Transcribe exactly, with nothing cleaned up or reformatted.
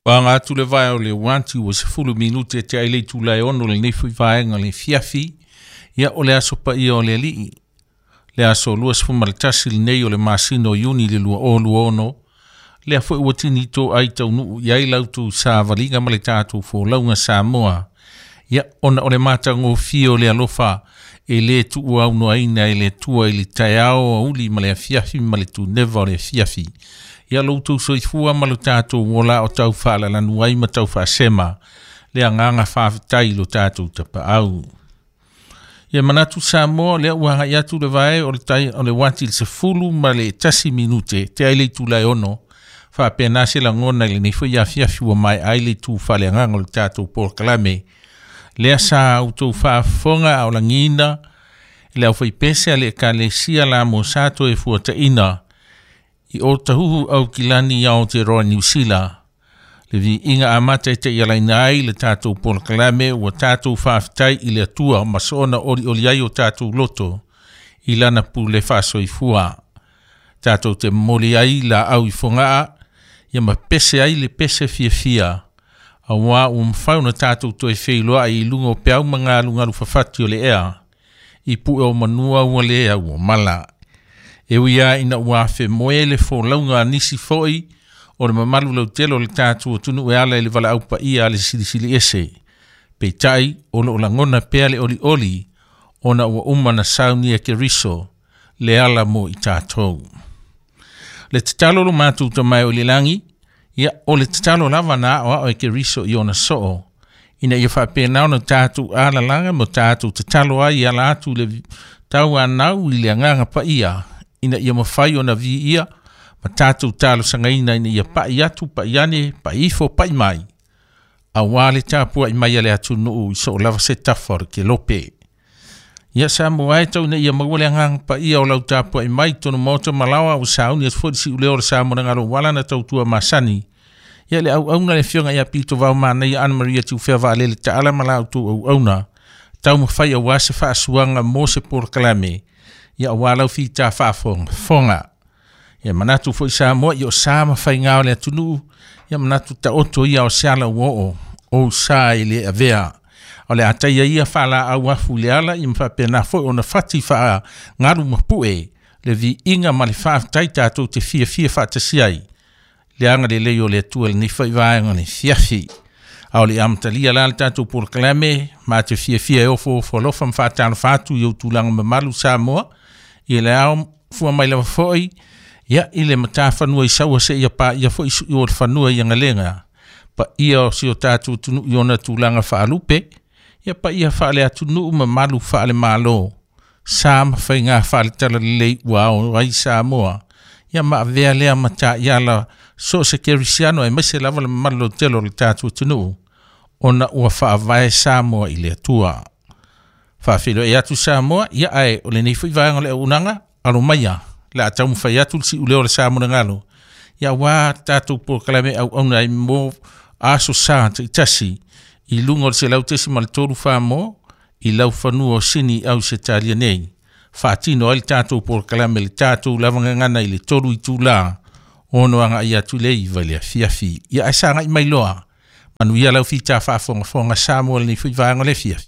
Aga atu le vae o le uati ua sefulu minute e te ai le itula e ono lenei foi vaega le fiafi. Ia o le aso paia o le Alii, le aso luasefulu ma le tasi lenei o le masina o Iuni le lua o lua ono. Lea foi ua tini to ai taunuu i ai lautou savaliga ma le tatou folauga Samoa. Ia ona o le matagofie o le alofa e le tuuaunoaina e le Atua i le taeao auli ma le afiafi ma le tuneva o le afiafi. Ia lo outou soifua ma lo tatou ola o tau faalalanu ai ma tau faasema le agaga faafetai i lo tatou tapaau. Ia manatu Samoa lea ua agai atu le vae o le tai o le uati i le sefulu ma le tasi minute te ai le itula e ono. Faapena se lagona i lenei foi afiafi ua maea ai le itu faaleagaga o le tatou polokalame. Lea sa outou faafofoga a o lagiina le aufaipese a le Ekalesia la mo sa toe fuataina i o tahuhu au kilani i Aotearoa Niu Sila. Le viiga amata e taialaina ai le tatou polokalame ua tatou faafetai i le Atua ma soona olioli ai o tatou loto i lana pule faasoifua. Tatou te momoli ai laau i fogaa ia ma pese ai le pese fiafia. Auā ua mafai ona tatou toe feiloai i luga o peau ma galugalu fafati o le ea i pue o manua ua le au o mala. E ui lava ina ua afemoe le folauga a nisi foi o le mamalu lautele o le tatou atunuu e ala i le valaau paia a le Silisili Ese. Peitai o loo lagona pea le olioli ona ua uma na saunia Keriso le ala mo i tatou. Le tatalo lo matou Tama e o i le lagi, ia o le tatalo lava na aoao e Keriso i ona soo, ina ia faapena ona tatou alalaga ma tatou tatalo ai i ala atu i le tauanau i le agaga paia, ina ia mafai ona viia ma tatou talosagaina ina ia pai atu, pai ane, pai ifo, pai mai, auā le tapuai mai a le atunuu i soo lava se tafa o le kelope. Ia Samoa e tau ina ia maua le agaga paia o lau tapuai mai totonu maota malaoa ua sauni atu foi le siuleo o le Samoa na galo ua ala na tautua masani. Ia le auauna le afioga ia Pito Vao Manaia Ana Maria Tiufea Vaalele Taala ma la outou auauna taumafai auā se faasuaga mo se polokalame ia auā lau fita faafogafoga. Ia manatu foi Samoa i o sa ma faiga o le atunuu, ia manatu taoto ia o se ala ua oo ou sa i le avea. O le ataia ia faalaau afu i le ala ia ma faapena foi ona fati faagalu ma pue le viiga ma le faafetai tatou te fiafia faatasi ai le agalelei o le Atua i lenei foi vaega o le fiafi. A o le amatalia la le tatou polokalame ma te fiafia e ofoofo alofa ma faatalofa atu i ou tulaga mamalu Samoa i le ao fua mai lava foi ia i le matafanua i saua seia paia foi sui o le fanua i agalega paia o si o tatou atunuu i ona tulaga faalupe, ia paia faale-atunuu mamalu faale-malo sa ma faiga faale-talalelei ua ao ai Samoa ia ma avea lea mataiala so o se kerisiano aemaise lava le mamalu lautele o le tatou atunuu ona ua faavae Samoa i le Atua. Faafeiloai atu Samoa, ia ae o lenei foi vaega o le auaunaga, alo maia le a taumafai atu le siuleo o le Samoa galo ia auā tatou polokalame auauna ai mo aso sa taitasi i luga o le selau tesi ma le tolu fa mo i laufanua o Sini au Ausetalia nei. Faatino ai le tatou polokalame le tatou lavagagana i le tolu itulā ono agai atu le iva i le afiafi. Ia ae sagai mai loa. Manuia lau fita faafogafoga Samoa i lenei foi vaega o le afiafi.